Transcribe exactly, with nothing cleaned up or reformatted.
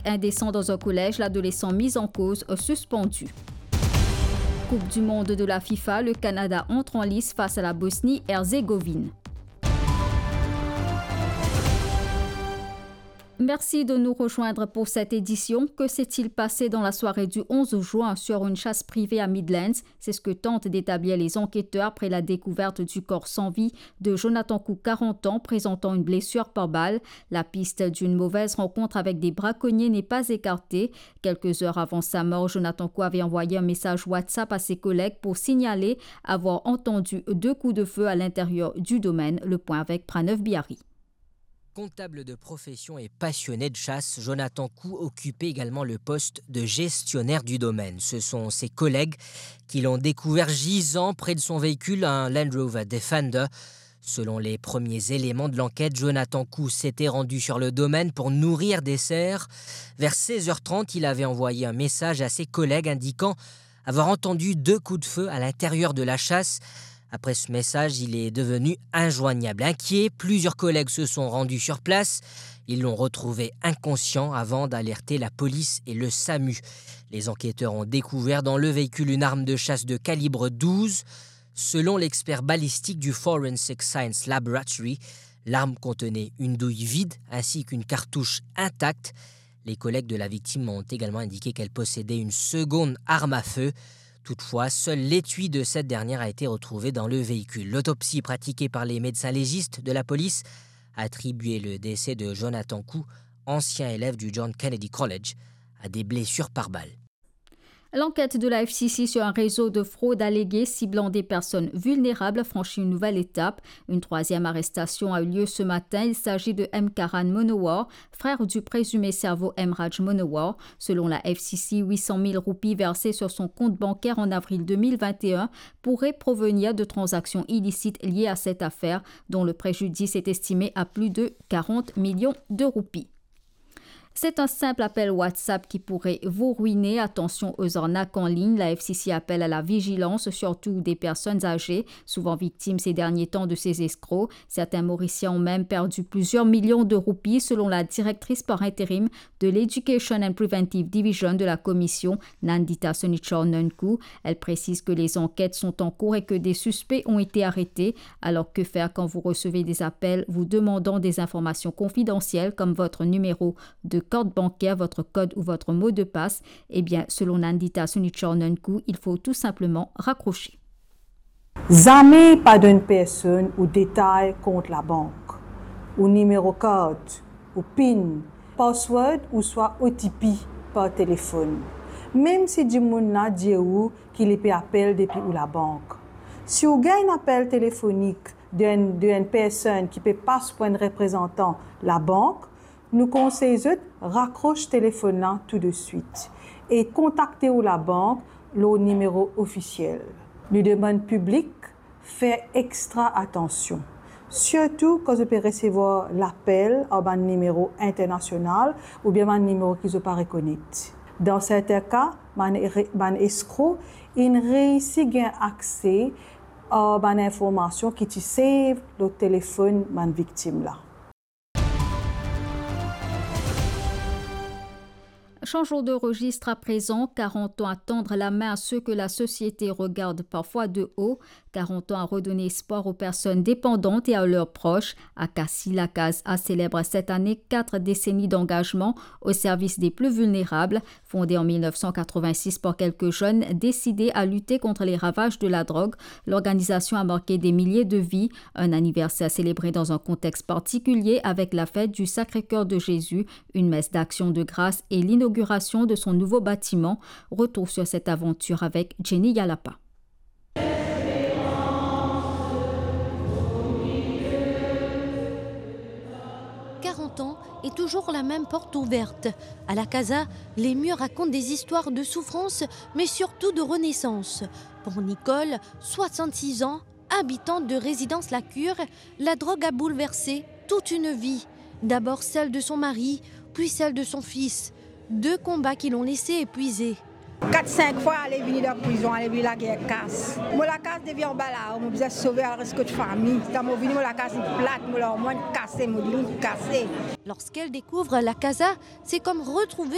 Indesan dan enn kolez, ladolesan miz an koz, sispandi. Coupe du monde de la FIFA, le Canada entre en lice face à la Bosnie-Herzégovine. Merci de nous rejoindre pour cette édition. Que s'est-il passé dans la soirée du onze juin sur une chasse privée à Midlands ? C'est ce que tentent d'établir les enquêteurs après la découverte du corps sans vie de Jonathan Cou, quarante ans, présentant une blessure par balle. La piste d'une mauvaise rencontre avec des braconniers n'est pas écartée. Quelques heures avant sa mort, Jonathan Cou avait envoyé un message WhatsApp à ses collègues pour signaler avoir entendu deux coups de feu à l'intérieur du domaine. Le point avec Pranov Biari. Comptable de profession et passionné de chasse, Jonathan Cou occupait également le poste de gestionnaire du domaine. Ce sont ses collègues qui l'ont découvert gisant près de son véhicule, un Land Rover Defender. Selon les premiers éléments de l'enquête, Jonathan Cou s'était rendu sur le domaine pour nourrir des cerfs. Vers seize heures trente, il avait envoyé un message à ses collègues indiquant avoir entendu deux coups de feu à l'intérieur de la chasse. Après ce message, il est devenu injoignable. Inquiets, plusieurs collègues se sont rendus sur place. Ils l'ont retrouvé inconscient avant d'alerter la police et le SAMU. Les enquêteurs ont découvert dans le véhicule une arme de chasse de calibre douze. Selon l'expert balistique du Forensic Science Laboratory, l'arme contenait une douille vide ainsi qu'une cartouche intacte. Les collègues de la victime ont également indiqué qu'elle possédait une seconde arme à feu. Toutefois, seul l'étui de cette dernière a été retrouvé dans le véhicule. L'autopsie pratiquée par les médecins légistes de la police a attribué le décès de Jonathan Cou, ancien élève du John Kennedy College, à des blessures par balle. L'enquête de la F C C sur un réseau de fraude alléguée ciblant des personnes vulnérables franchit une nouvelle étape. Une troisième arrestation a eu lieu ce matin. Il s'agit de M Karan Monowar, frère du présumé cerveau M Raj Monowar. Selon la F C C, huit cent mille roupies versées sur son compte bancaire en avril deux mille vingt et un pourraient provenir de transactions illicites liées à cette affaire, dont le préjudice est estimé à plus de quarante millions de roupies. C'est un simple appel WhatsApp qui pourrait vous ruiner. Attention aux arnaques en ligne. La F C C appelle à la vigilance, surtout des personnes âgées, souvent victimes ces derniers temps de ces escrocs. Certains Mauriciens ont même perdu plusieurs millions de roupies, selon la directrice par intérim de l'Education and Preventive Division de la Commission, Nandita Sonichor Nunku. Elle précise que les enquêtes sont en cours et que des suspects ont été arrêtés. Alors, que faire quand vous recevez des appels vous demandant des informations confidentielles comme votre numéro de carte bancaire, votre code ou votre mot de passe ? Eh bien, selon Nandita Sonichor Nunku, il faut tout simplement raccrocher. Zame pa donn personn ou detay kont labank, ou nimero kart, ou pin, password ouswa O T P par telefonn, mem si dimoun la dir ou ki li pe apel depi ou labank. Si ou gagn enn apel telefonik de enn, de enn personn ki pe pas pou enn reprezantan labank, nou konsey zot rakros telefonn la tou de swit e kontakte ou labank lor nimero ofisiel. Nou demann piblik fer extra atansion, sirtou kan zot pe resevwar lapel ar bann nimero internasional oubien bann nimero ki zot pa rekonet. Dan sertin ka, bann re-, bann eskro inn reisi gagn akse ar bann informasion ki ti save lor telefonn bann viktim la. Changeons de registre à présent. Quarante ans à tendre la main à ceux que la société regarde parfois de haut. Quarante ans à redonner espoir aux personnes dépendantes et à leurs proches. Akasi Lakaza célèbre cette année quatre décennies d'engagement au service des plus vulnérables. Fondée en mille neuf cent quatre-vingt-six par quelques jeunes décidés à lutter contre les ravages de la drogue, l'organisation a marqué des milliers de vies. Un anniversaire célébré dans un contexte particulier avec la fête du Sacré-Cœur de Jésus, une messe d'action de grâce et l'inauguration de son nouveau bâtiment. Retour sur cette aventure avec Jenny Yalapa. Quarante ans et toujours la même porte ouverte. À Lakaza, les murs racontent des histoires de souffrance, mais surtout de renaissance. Pour Nicole, soixante-six ans, habitante de résidence La Cure, la drogue a bouleversé toute une vie. D'abord celle de son mari, puis celle de son fils. Deux combats qui l'ont laissée épuisée. Kat sink fwa ale vini dan prizon, ale vini lager kas. Mo lakaz depi anba lao, mo bizin sove al res kot fami. Kan mo vini, mo lakaz inn plat, mo larmwar inn kase, mo dilo inn kase. Lorsqu'elle découvre la casa, c'est comme retrouver